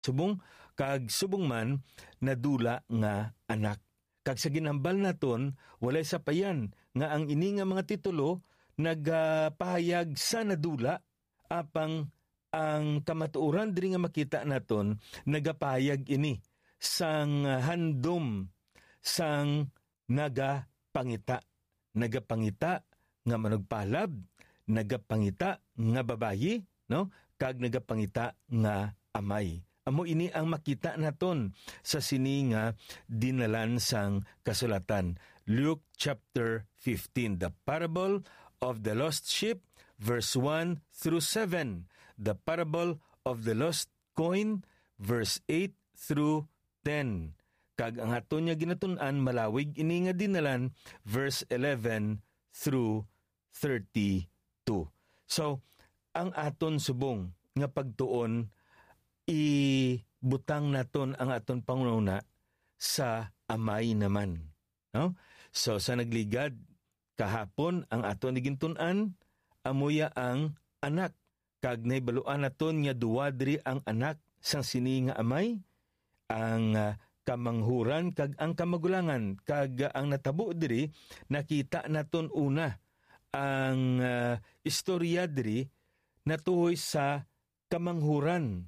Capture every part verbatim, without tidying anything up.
subong, kag subong man nadula nga anak. Kag sa ginhambal naton, walay sapayan nga ang ini nga mga titulo nagapahayag sa nadula, apang ang kamatuoran diri nga makita naton nagapahayag ini sang handom sang nagapangita. Nagapangita nga manugpalab, nagapangita nga babayi, no? Kag nagapangita nga amay. Amo ini ang makita naton sa sini nga dinalan sang kasulatan. Luke chapter fifteen, the parable of the lost sheep, verse one through seven, the parable of the lost coin, verse eight through ten. Kag ang aton nga ginatun-an, malawig ini nga dinalan, verse eleven through thirty-two. So, ang aton subong nga pagtuon, ibutang naton ang aton panghunahuna sa amay naman, no? So, sa nagligad, kahapon ang aton gintun-an, amo ya ang anak. Kag nahibaluan naton nga duha diri ang anak sang sini nga amay, ang, ah, kamanghuran kag ang kamagulangan, kag ang natabo diri, nakita naton una ang, ah, istorya diri natuhoy sa kamanghuran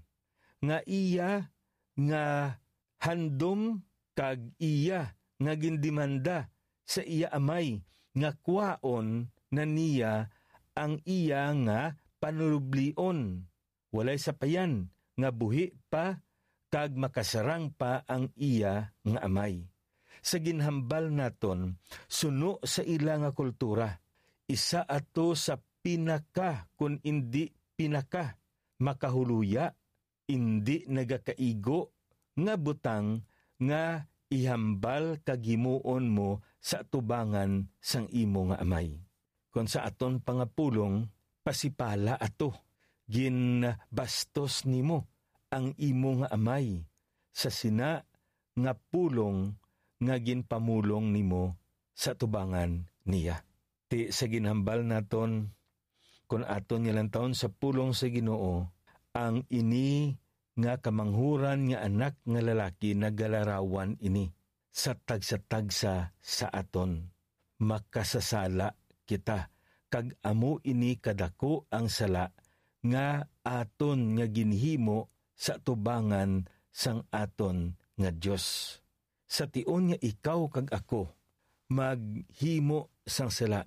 nga iya nga handom kag iya nga gindemanda sa iya amay nga kwaon na niya ang iya nga panuloblion. Walay sapayan nga buhi pa kag makasarang pa ang iya nga amay. Sa ginhambal naton, suno sa ila nga kultura, isa ato sa pinaka, kun indi pinaka, makahuluya, indi nagakaigo nga butang nga ihambal kag himuon mo sa atubangan sang imo nga amay. Kon sa aton pangapulong, pasipala ato, ginbastos nimo ang imo nga amay sa sina nga pulong nga ginpamulong nimo sa atubangan niya. Ti sa ginhambal naton, kon aton nga lantawon sa pulong sa Ginoo, ang ini nga kamanghuran nga anak nga lalaki nagalarawan ini sa tagsa-tagsa sa aton. Makasasala kita, kag amo ini kadako ang sala nga aton nga ginhimo sa atubangan sang aton nga Dios. Sa tion nga ikaw kag ako maghimo sang sala,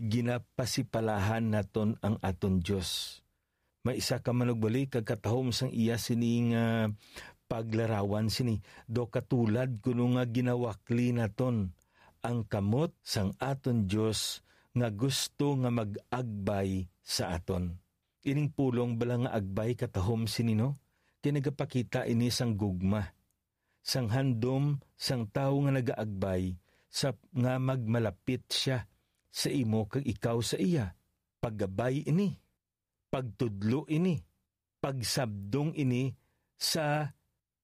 ginapasipalahan naton ang aton Dios. May isa ka manugbali kag katahom sang iya sini nga paglarawan sini, daw katulad kuno nga ginawakli naton ang kamot sang aton Dios nga gusto nga mag-agbay sa aton. Ining pulong bala nga agbay katahom sini, no? Kay nagapakita ini sang gugma, sang handom sang tawo nga nagaagbay sa nga magmalapit sia sa imo kag ikaw sa iya. Paggabay ini, pagtudlo ini, pagsabdong ini sa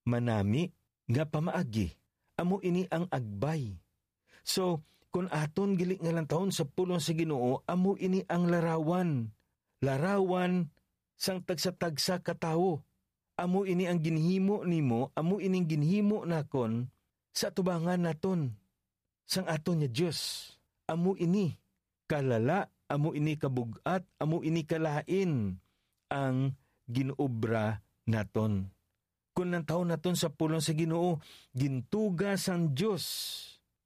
manami nga pamaagi. Amo ini ang agbay. So, kon aton gali nga lantawon sa pulong sa Ginoo, amo ini ang larawan. Larawan sang tagsa-tagsa ka tawo. Amo ini ang ginhimo nimo, amo ini ang ginhimo nakon sa atubangan naton sang aton nga Dios. Amo ini kalala, amo ini kabug-at, amo ini kalain ang gin-obra naton. Kon lantawon naton sa pulong sa Ginoo, gintuga sang Dios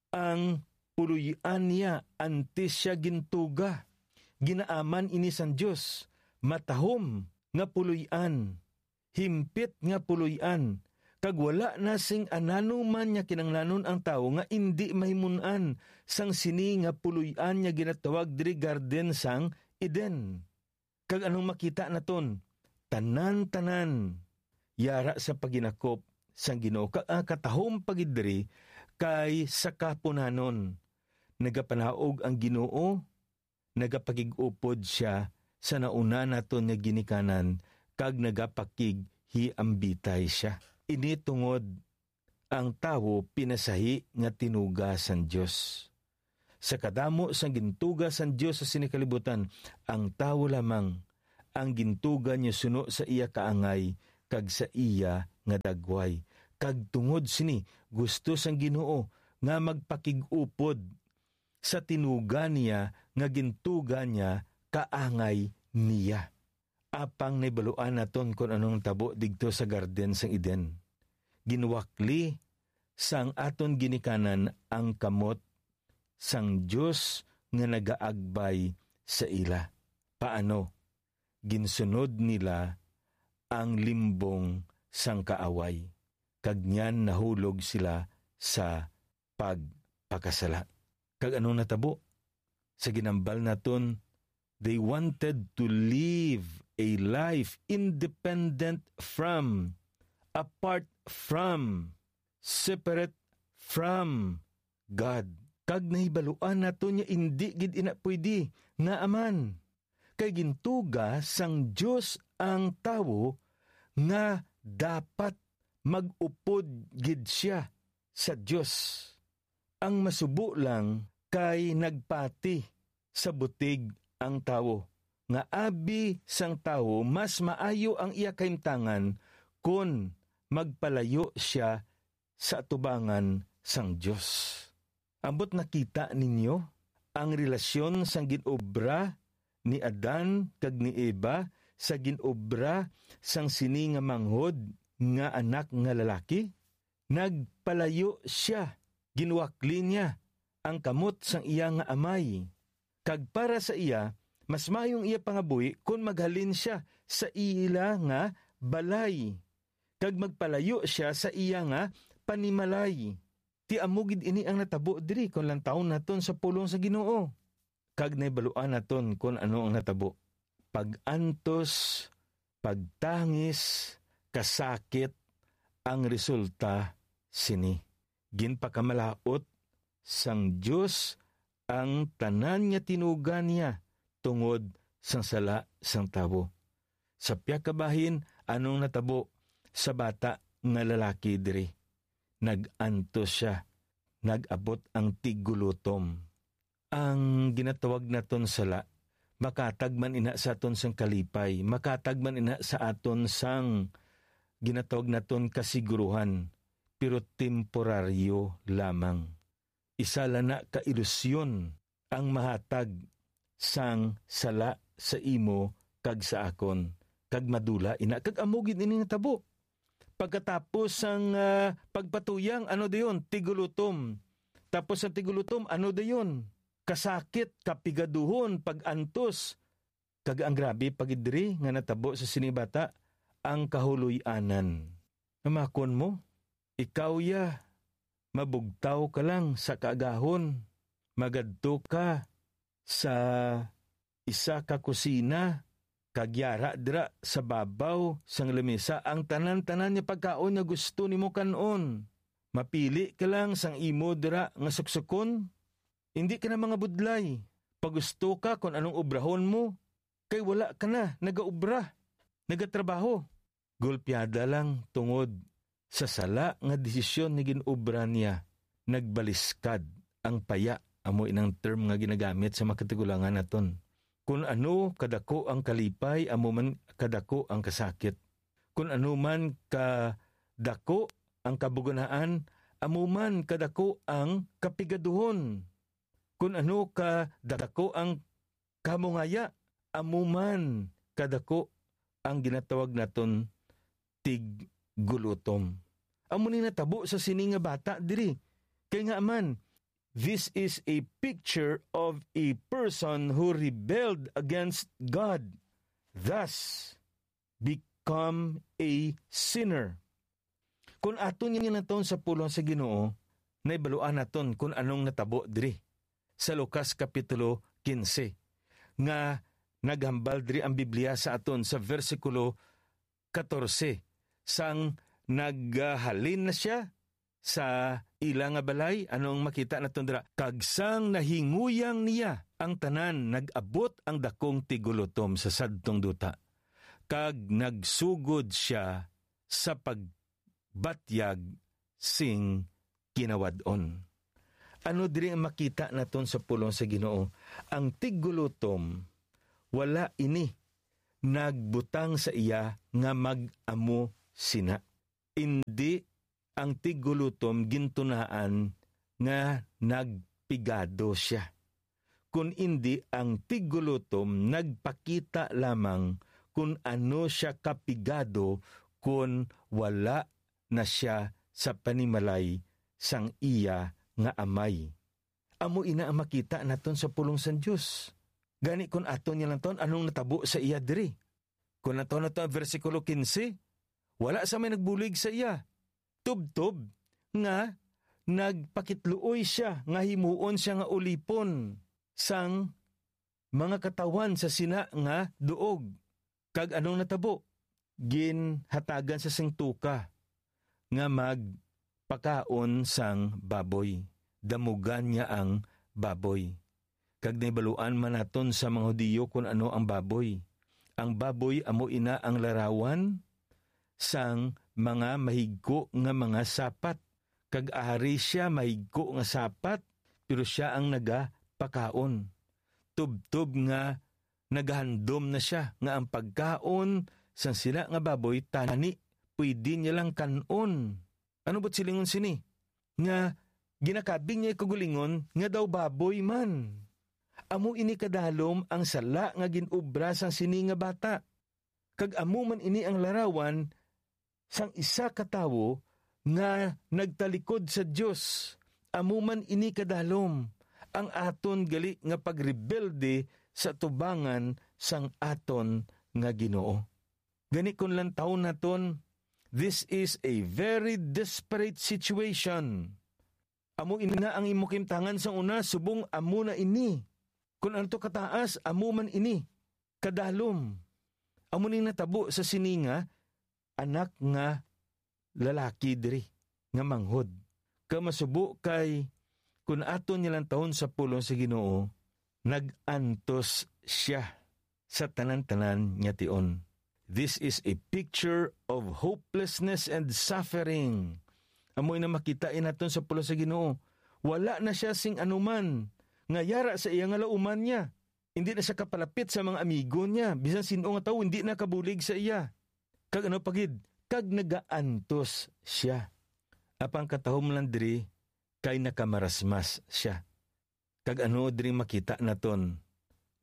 ang puloy-an niya antes sia gintuga. Ginaaman ini sang Dios, matahom nga puloy-an, himpit nga puloy-an, kag wala na sing anano man nga kinahanglanon ang tawo nga indi mahimon-an sang sini nga puloy-an nga ginatawag diri garden sang Eden. Kag anong makita naton? Tanan-tanan yara sa paginakop sang Ginoo, kag ang katahom pa gid diri kay sa kapunanon. Nagapanaog ang Ginoo, nagapakig-upod sia sa nauna naton nga ginikanan, kag nagapakighiambitay sia. Ini tungod ang tawo pinasahi nga tinuga sang Dios. Sa kadamo sang gintuga sang Dios sa sini kalibutan, ang tawo lamang ang gintuga niya suno sa iya kaangay kag sa iya nga dagway, kag tungod sini gusto sang Ginoo nga magpakig-upod sa tinuga niya nga gintuga niya kaangay niya. Apang nahibaluan naton kon anong tabo didto sa garden sang Eden. Ginwakli sang aton ginikanan ang kamot sang Dios nga nagaagbay sa ila. Paano? Ginsunod nila ang limbong sang kaaway, kag niyan nahulog sila sa pagpakasala. Kag anong natabo? Sa ginambal naton, they wanted to live a life independent from, apart from, separate from God. Kag nahibaluan naton nga indi gid ina pwede nga aman. Kay gintuga sang Dios ang tawo nga dapat mag-upod gid sia sa Dios. Ang masubo lang kay nagpati sa butig ang tawo, nga abi sang tawo mas maayo ang iya kahimtangan kon magpalayo sia sa atubangan sang Dios. Ambot nakita ninyo ang relasyon sang gin-obra ni Adan kag ni Eva sa gin-obra sang sini nga manghod nga anak nga lalaki? Nagpalayo sia, ginwakli niya ang kamot sang iya nga amay. Kag para sa iya, mas maayong iya pangabuhi kon maghalin sia sa ila nga balay, kag magpalayo sia sa iya nga panimalay. Ti amo gid ini ang natabo diri kon lantawon naton sa pulong sa Ginoo. Kag nahibaluan naton kon ano ang natabo. Pag-antos, pagtangis, kasakit ang resulta sini. Ginpakamalaut sang Dios ang tanan nga tinuga niya tungod sang sala sang tawo. Sa pihak ka bahin, anong natabo sa bata nga lalaki diri? Nag-antos sia. Nag-abot ang tiggulotom. Ang ginatawag naton sala, makatag man ina sa aton sang kalipay, makatag man ina sa aton sang ginatawag naton kasiguruhan, pero temporaryo lamang. Isa lang na ka ilusyon ang mahatag sang sala sa imo kag sa akon, kag madula ina, kag amo gid ini natabo. Pagkatapos sang, ah, pagpatuyang, ano dayon? Tigulutom. Tapos sa tigulutom, ano dayon? Kasakit, kapigaduhon, pag-antos. Kag ang grabe pa gid diri nga natabo sa sini bata, ang kahuloy-anan. Namakon mo, ikaw ya, mabugtaw ka lang sa kaagahon, magadto ka sa isa ka kusina, kag yara dira sa babaw sang lamisa ang tanan-tanan nga pagkaon nga gusto nimo kan-on. Mapili ka lang sang imo dira nga suksukon. Indi ka na mangabudlay. Pagusto ka kon anong obrahon mo, kay wala ka na nagaobra, nagatrabaho. Golpiada lang tungod sa sala nga desisyon nga gin-obra niya, nagbaliskad ang paya, amo inang term nga ginagamit sa makatigulangan naton. Kun ano kadako ang kalipay, amo man kadako ang kasakit. Kun ano man kadako ang kabuganaan, amo man kadako ang kapigaduhon. Kun ano kadako ang kamungaya, amo man kadako ang ginatawag naton tiggulutom. Amo ni natabo sa sini nga bata diri. Kay nga man, this is a picture of a person who rebelled against God, thus become a sinner. Kun aton nga naton sa pulong sa Ginoo, naibaluan naton kun anong natabo diri sa Lucas Kapitulo quince, nga naghambal diri ang Biblia sa aton sa bersikulo catorce, sang naghalin na sia sa ila nga balay, anong makita naton dira? Kag sang nahinguyang niya ang tanan, nag-abot ang dakong tigulutom sa sadtong duta, kag nagsugod sia sa pagbatyag sing kinawad-on. Ano diri ang makita naton sa pulong sa Ginoo? Ang tiggulutom, wala ini nagbutang sa iya nga mag-amo sina. Indi ang tiggulotom gintunaan nga nagpigado sia, kun indi ang tiggulotom nagpakita lamang kun ano sia kapigado kun wala na sia sa panimalay sang iya nga amay. Amo ina ang makita naton sa pulong sang Dios. Gani, kun aton niya lang taon, anong natabo sa iya diri? Kun aton naton ang bersikulo quince, wala sa may nagbulig sa iya. Tubtob nga nagpakitluoy sia nga himuon sia nga ulipon sang mga katawhan sa sina nga duog. Kag anong natabo? Ginhatagan sa sing tuka nga magpakaon sang baboy. Damugan niya ang baboy. Kag nahibaluan man naton sa mga Hudiyo kon ano ang baboy. Ang baboy amo ina ang larawan sang mga mahigko nga mga sapat. Kag ari sia mahigko nga sapat, pero sia ang nagapakaon. Tubtob nga nagahandom na sia nga ang pagkaon sang sina nga baboy tani pwede niya lang kan-on. Ano bu't silingon sini? Nga ginakabig niya kaugalingon nga daw baboy man. Amo ini kadalom ang sala nga gin-obra sang sini nga bata. Kag amo man ini ang larawan sang isa ka tawo nga nagtalikod sa Dios. Amo man ini kadalom, ang aton gali nga pagrebelde sa atubangan sang aton nga Ginoo. Gani, kon lantawon naton, this is a very desperate situation. Amo ina ang imo kahimtangan sang una, subong amo na ini. Kon ano to kataas, amo man ini kadalom. Amo ni natabo sa sini nga anak nga lalaki diri nga manghod. Kag masubo kay kun aton niya lantawon sa pulong sa Ginoo, nag-antos sia sa tanan-tanan nga tion. This is a picture of hopelessness and suffering. Amo na makita naton sa pulong sa Ginoo. Wala na sia sing anuman nga yara sa iya nga lauman niya. Hindi na siya kapalapit sa mga amigo niya. Bisan sin-o nga tawo hindi na kabulig sa iya. Kag ano pa gid? Kag nagaantos sia. Apang katahom lang diri kay nakamarasmas sia. Kag ano diri makita naton?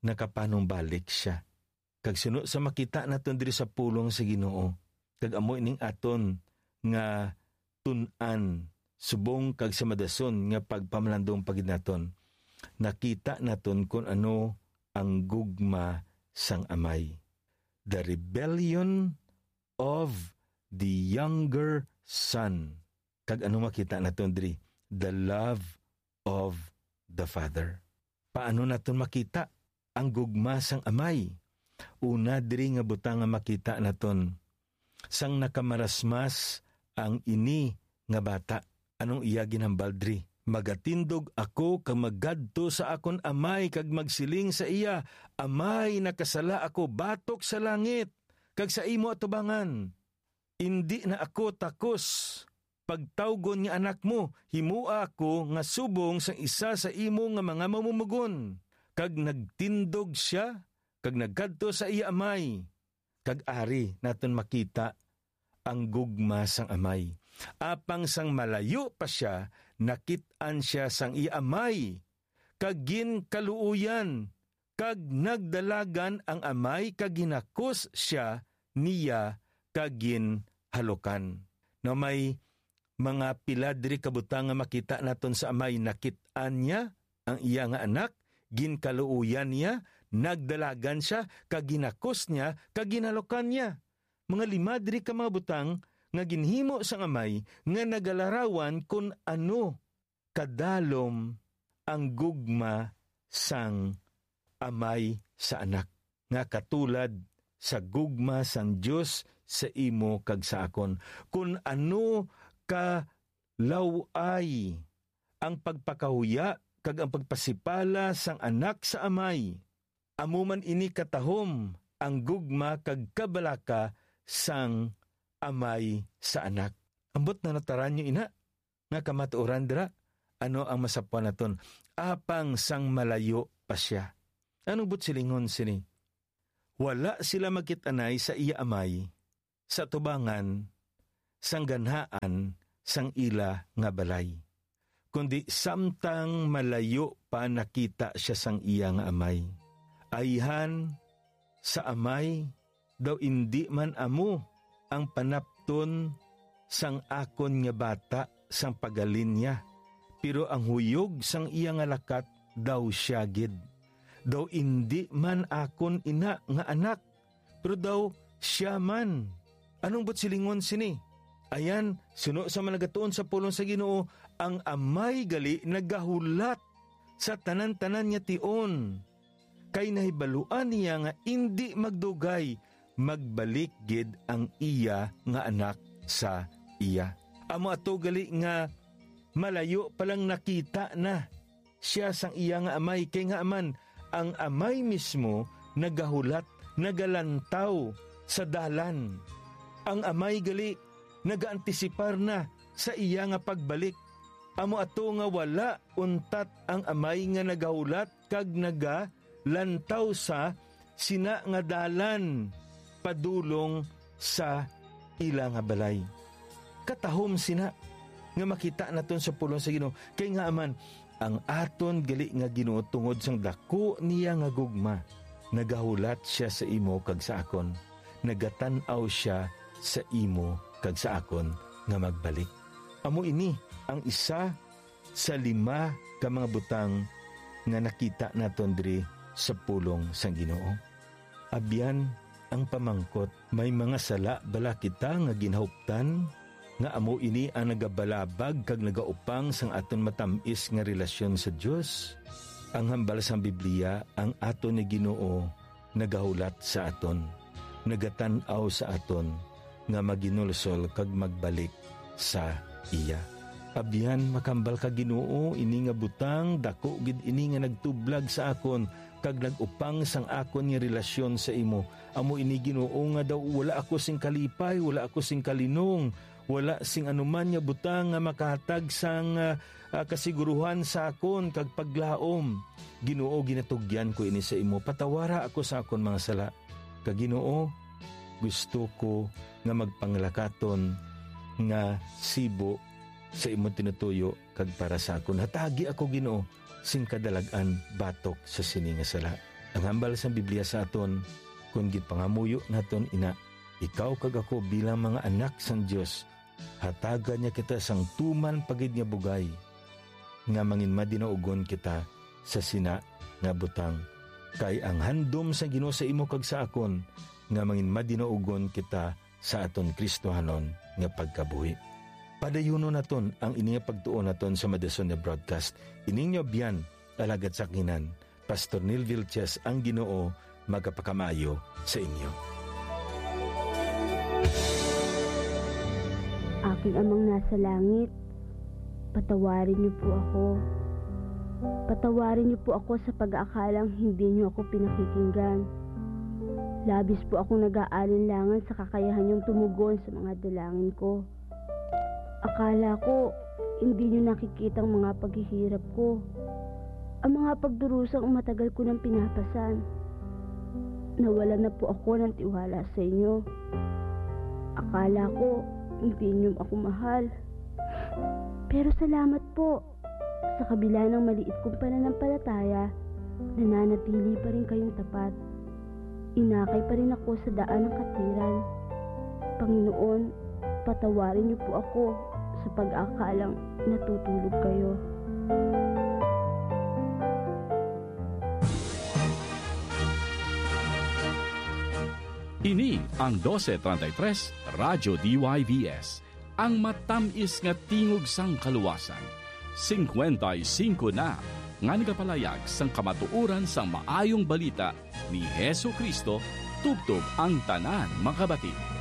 Nakapanumbalik sia. Kag suno sa makita naton diri sa pulong sa Ginoo, kag amo ining aton nga tun-an subong kag sa madason nga pagpamalandong pa gid naton, nakita naton kon ano ang gugma sang amay. The rebellion of the younger son. Kag ano makita naton diri? The love of the Father. Paano naton makita ang gugma sang Amay? Una diri nga butang nga makita naton, sang nakamarasmas ang ini nga bata. Anong iya ginhambal diri? "Magatindog ako kag magadto sa akon amay kag magsiling sa iya, 'Amay, nakasala ako batok sa langit kag sa imo atubangan. Indi na ako takos pagtawgon nga anak mo, himoa ako nga subong sang isa sa imo nga mga mamumugon.'" Kag nagtindog sia kag nagkadto sa iya amay. Kag ari naton makita ang gugma sang amay. Apang sang malayo pa sia, nakit-an sia sang iya amay, kag ginkaluoyan, kag nagdalagan ang amay, kag ginakos sia niya, kag ginhalukan. Now, may mga pila diri ka butang nga makita naton sa amay. Nakit-an niya ang iya nga anak, ginkaluoyan niya, nagdalagan sia, kag ginakos niya, kag ginhalukan niya. Mga lima diri ka mga butang nga ginhimo sang amay nga nagalarawan kon ano kadalom ang gugma sang amay sa anak, nga katulad sa gugma sang Dios sa imo kag sa akon. Kon ano ka law-ay ang pagpakahuya kag ang pagpasipala sang anak sa amay, amo man ini katahom ang gugma kag kabalaka sang amay sa anak. Ambot na nataran niyo ina nga kamatuoran dira? Ano ang masapwan naton? Apang sang malayo pa sia. Anong buot silingon sini? Wala sila magkit-anay sa iya amay, sa tubangan sang ganhaan sang ila nga balay, kundi samtang malayo pa nakita sia sang iya nga amay. Ayhan sa amay daw indi man amo ang panapton sang akon nga bata sang paghalin niya, pero ang huyog sang iya nga lakat daw sia gid. Daw indi man akon ina nga anak, pero daw sia man. Anong buot silingon sini? Ayan, suno sa mga nagatuon sa pulong sa Ginoo, ang amay gali nagahulat sa tanan-tanan nga tion, kay nahibaluan niya nga indi magdugay magbalik gid ang iya nga anak sa iya. Amo ato gali nga malayo pa lang nakita na sia sang iya nga amay, kay ngaa man ang amay mismo nagahulat, nagalantaw sa dalan. Ang amay gali nagaantisipar na sa iya nga pagbalik. Amo ato nga wala untat ang amay nga nagahulat kag nagalantaw sa sina nga dalan padulong sa ila nga balay. Katahom sina nga makita naton sa pulong sa Ginoo, kay ngaa man ang aton gali nga Ginoo, tungod sang dako niya nga gugma, nagahulat sia sa imo kag sa akon, nagatan-aw sia sa imo kag sa akon nga magbalik. Amo ini ang isa sa lima ka mga butang nga nakita naton diri sa pulong sang Ginoo. Abyan, ang pamangkot, may mga sala bala kita nga ginhuptan nga amo ini ang nagabalabag kag nagaupang sang aton matam-is nga relasyon sa Dios? Ang hambal sang Biblia, ang aton nga Ginoo nagahulat sa aton, nagatan-aw sa aton, nga maginulsol kag magbalik sa iya. Abyan, makambal ka, Ginoo, ini nga butang, dako gid ini nga nagtublag sa akon kag nag-upang sang akon nga relasyon sa imo. Amo ini, Ginoo, nga daw wala ako sing kalipay, wala ako sing kalinong, wala sing anuman nga butang nga makahatag sang, ah, ah, kasiguruhan sa akon kag paglaom. Ginoo, ginatugyan ko ini sa imo. Patawara ako sa akon mga sala. Kag Ginoo, gusto ko nga magpanglakaton nga sibo sa imo tinutuyo kag para sa akon. Hatagi ako, Ginoo, sing kadalag-an batok sa sini nga sala. Ang hambal sang Biblia sa aton, kon ginpangamuyo naton ina, ikaw kag ako bilang mga anak sang Dios, hatagan niya kita sang tuman pa gid nga bugay nga manginmadinaugon kita sa sina nga butang. Kay ang handom sang Ginoo sa imo kag sa akon nga manginmadinaugon kita sa aton Kristohanon nga pagkabuhi. Padayunon naton ang ini nga pagtuon naton sa madason nga broadcast. Ining inyo abyan, alagad sa kinan, Pastor Neil Vilches, ang Ginoo magapakamaayo sa inyo. Aking Amang nasa langit, patawarin niyo po ako. Patawarin niyo po ako sa pag-aakalang hindi niyo ako pinakikinggan. Labis po akong nag-aalinlangan sa kakayahan niyong tumugon sa mga dalangin ko. Akala ko, hindi niyo nakikita ang mga paghihirap ko, ang mga pagdurusang matagal ko nang pinapasan. Nawalan na po ako ng tiwala sa inyo. Akala ko, hindi niyo ako mahal. Pero salamat po. Sa kabila ng maliit kong pananampalataya, nananatili pa rin kayong tapat. Inakay pa rin ako sa daan ng katwiran. Panginoon, patawarin niyo po ako sa pag-akalang natutulog kayo. Ini ang doce treinta y tres Radyo D Y V S, ang matamis nga tingog sang kaluwasan. Singkwenta y singko na nga nagapalayag sang kamatuoran sang Maayong Balita ni Jesu-Cristo, tubtob ang tanan makabati.